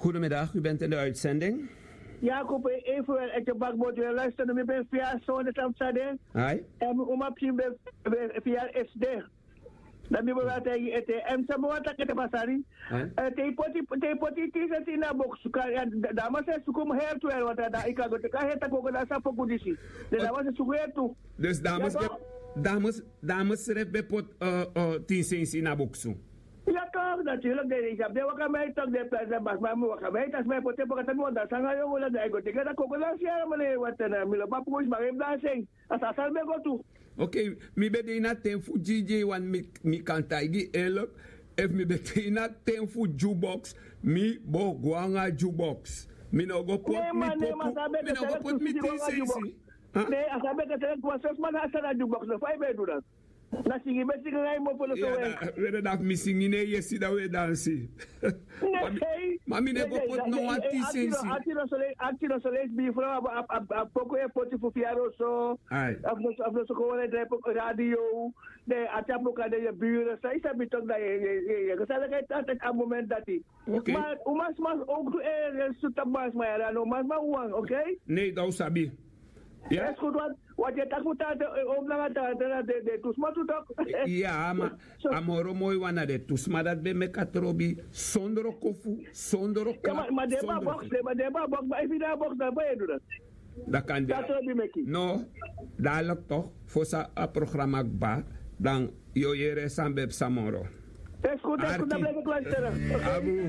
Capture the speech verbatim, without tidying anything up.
Goedemiddag, u bent in de uitzending. Ya, kope, even wel ete bakbot wel luisteren mi ben via sonde tamsade. Ai. En mi uma pikin ben via sd. Dan mi ben wata ete en sama wata kete pasari. Te ipoti te ipoti tise tina boksu ka ya. Dama se sukum her tu el wata da ika go teka heta koko da sa poku disi. De dama se suku her tu. Dus dames, dames, dames ref ben pot tin sensi na boksu. Ya toch, natuurlijk. De is op de waka mij toch de prijs en bas maar mi waka mij tas mij pote poka tami wanda sanga yo wala de go teke da koko da siara mane wata na mi lo papu is maar even daar zijn. Als asal ben go tu. Ok, mi ben de ini a ten fu dj wan mi kan taigi elk. Efu mi ben de ini a ten fu jukebox, mi bo go nanga jukebox. Mi no go poti mi popu. Mi no go poti mi tin sensi. Ne a sabi kete kuwa sosma na asara jukebox no fa i ben du dat. Na singi ben singi na i mofo no so we. Wede dati mi singi ne yesi dan we dansi. Ma mi ne go poti no wan tin sensi. Ati no so leisi bifro a poko e poti fu fiaro so. Afu no so ko wale drai poko radio. Ne ati a poko ade ye bure sa i sabi tok da ye ye ye go sa leke a moment dati. Ma un mas mas ook tu e suta mas ma yara no mas ma wan, ok. Ne dan un sabi. Ya. Eskutu wat wat ye taki fu tante o blanga tante na de de tu sma tu tok. Ya ma a moro moi wan na de tu sma dati ben meki a trobi. Sondro kofu sondro kla. Ma den ba box den ba den ba box ma efu den a box dan ba ye du dati. Dan kan de. No. Dadelijk toch fosi a programma kba dan yu o yere san ben psa moro. Eskutu eskutu dan bleki klasteren. Abu.